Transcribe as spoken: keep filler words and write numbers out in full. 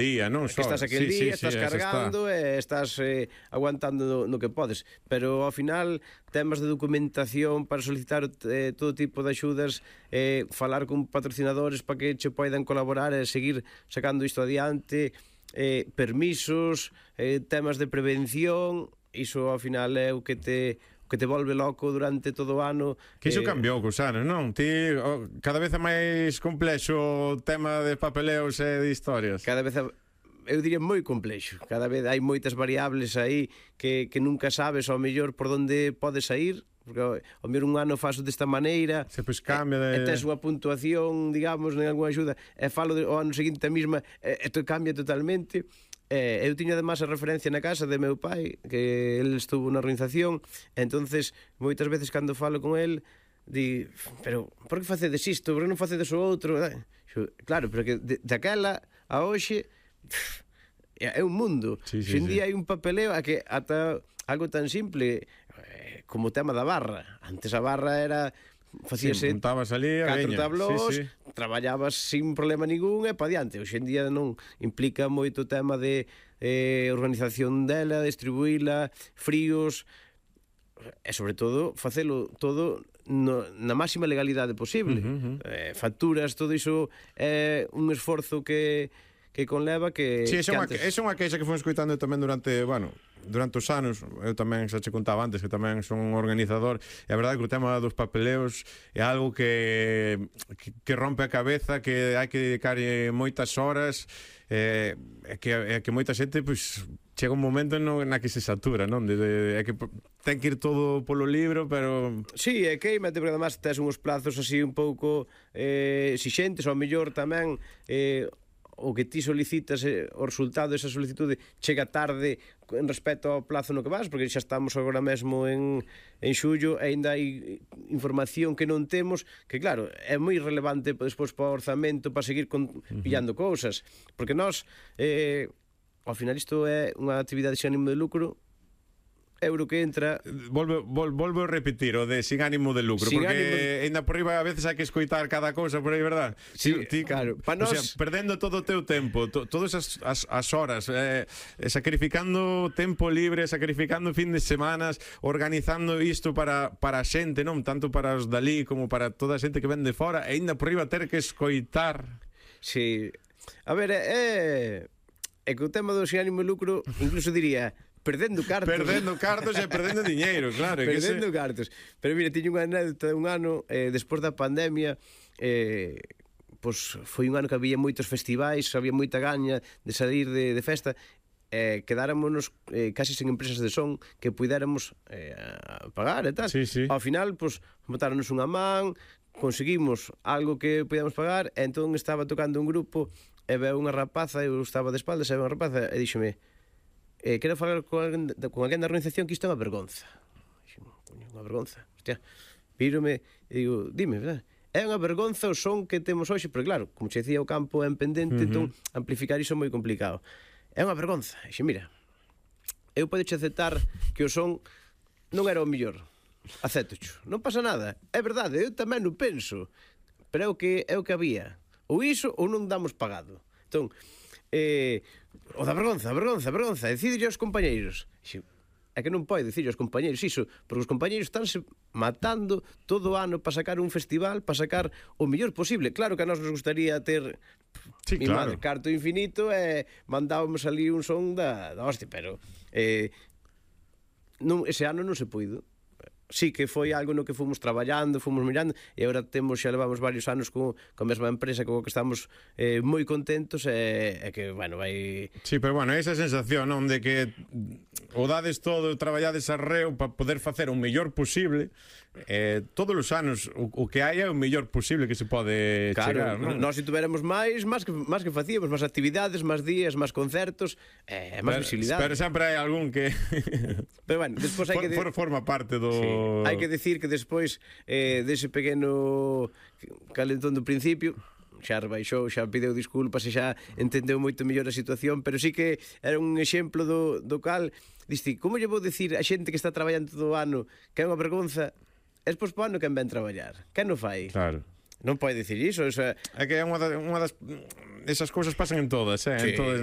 día, non que só. estás aquel sí, día, sí, estás sí, cargando e estás eh, aguantando no, no que podes, pero ao final temas de documentación para solicitar eh, todo tipo de axudas, eh, falar con patrocinadores para que che poidan colaborar e seguir sacando isto adiante, eh, permisos, eh, temas de prevención, iso ao final é o que te que te volve loco durante todo o ano. Que iso eh, cambiou cos anos, non? Ti, oh, cada vez é máis complexo o tema de papeleos e de historias. Cada vez a, eu diría moi complexo. Cada vez hai moitas variables aí que, que nunca sabes ao mellor por onde podes sair, porque ao, ao mellor un ano faso desta maneira, Se pois cambia de... e, e tes unha puntuación, digamos, en algunha axuda, e falo de, o ano seguinte a mesma, e, e to cambia totalmente. Eh, eu tiña además a referencia na casa de meu pai, que ele estuvo na organización, e entonces moitas veces cando falo con el di, pero por que facedes isto, por que non facedes o outro? Xo, claro, pero que de, daquela a hoxe é un mundo. Sí, sí, Hoxe en sí. día hai un papeleo a que ata algo tan simple eh, como o tema da barra. Antes a barra era facíase Sí, montabas ali a catro veña. tablós, Sí, sí. traballabas sin problema ningún e pa diante. Hoxe en día non implica moito tema de eh, organización dela, distribuíla, fríos e sobre todo facelo todo no, na máxima legalidade posible. Uh -huh, uh -huh. Eh, facturas, todo iso é un esforzo que que conleva que... Sí, esa é que unha, antes... esa é unha queixa que fomos escoitando tamén durante, bueno, durante os anos. Eu tamén xa che contaba antes que tamén son un organizador, e a verdade que o tema dos papeleos é algo que que, que rompe a cabeza, que hai que dedicar moitas horas, e eh, que, é que moita xente pois chega un momento no, na que se satura, non? De, de, é que ten que ir todo polo libro, pero... Sí, é queimate, porque además tes uns plazos así un pouco eh, exixentes, ao mellor tamén eh, o que ti solicitas, eh, o resultado desa solicitude chega tarde en respecto ao plazo no que vas, porque xa estamos agora mesmo en, en xullo e ainda hai información que non temos, que claro, é moi relevante despois para o orzamento, para seguir con, pillando cousas, porque nós eh, ao final isto é unha actividade sin ánimo de lucro, euro que entra... Volvo, vol, volvo a repetir o de sin ánimo de lucro, sin porque de... ainda por riba a veces hai que escoitar cada cousa por aí, verdad? Sí, ti, claro. Pa o nos... sea, perdendo todo o teu tempo, to, todas as, as, as horas, eh, sacrificando tempo libre, sacrificando fin de semanas, organizando isto para, para a xente, non? Tanto para os dalí como para toda a xente que ven de fora, e ainda por riba ter que escoitar... Sí. A ver, é... É que o tema do sin ánimo de lucro, incluso diría... Perdendo cartos. Perdendo cartos e perdendo diñeiro, claro. Perdendo que se... cartos. Pero mira, tiño unha anécdota de un ano, eh, despois da pandemia, eh, pois foi un ano que había moitos festivais, había moita gaña de salir de, de festa, eh, quedáramos eh, casi sen empresas de son que puidéramos eh, pagar e tal. Sí, sí. Ao final, pois, botáronos unha man, conseguimos algo que podíamos pagar, e entón estaba tocando un grupo, e veo unha rapaza, eu estaba de espaldas, e veo unha rapaza, e díxome... Eh, quero falar con alguén, con alguén da organización que isto é unha vergonza. Unha vergonza. Hostia, vírome e digo, dime, verdad? É unha vergonza o son que temos hoxe, porque claro, como che decía, o campo é en pendente, uh -huh. Entón amplificar iso é moi complicado. É unha vergonza. E xe, mira, eu podeche aceptar que o son non era o mellor. Aceptocho. Non pasa nada. É verdade, eu tamén o penso. Pero é o que, é o que había. Ou iso ou non damos pagado. Entón, eh, o da vergonza, vergonza, vergonza, decide aos compañeiros. É que non pode dicir aos compañeiros iso, porque os compañeiros estánse matando todo o ano para sacar un festival, para sacar o mellor posible. Claro que a nós nos gustaría ter sí, mi claro. madre, carto infinito e mandábamos ali un son da, da hostia, pero eh, non, ese ano non se puido. Sí que foi algo no que fomos traballando, fomos mirando, e agora temos, xa levamos varios anos con, con a mesma empresa co que estamos eh, moi contentos, e, e que, bueno, vai... Sí, pero bueno, esa sensación, non, de que o dades todo, traballades arreo para poder facer o mellor posible, eh, todos os anos o, o que hai é o mellor posible que se pode claro, chegar, non? Nós se tuveramos máis, máis que, máis que facíamos, máis actividades, máis días, máis concertos, eh, máis visibilidade. Pero sempre hai algún que... Pero bueno, despois hai que... De... For, forma parte do... Sí. Hai que decir que despois eh, dese pequeno calentón do principio xa rebaixou, xa pideu disculpas e xa entendeu moito mellor a situación, pero sí que era un exemplo do, do cal diste, como lle vou decir a xente que está traballando todo o ano que é unha vergonza, es pois po ano quen ven traballar, quen non fai? Claro. Non pode dicir iso, o sea... É que é unha, da, unha das... esas cousas pasan en todas, eh? Sí. En todas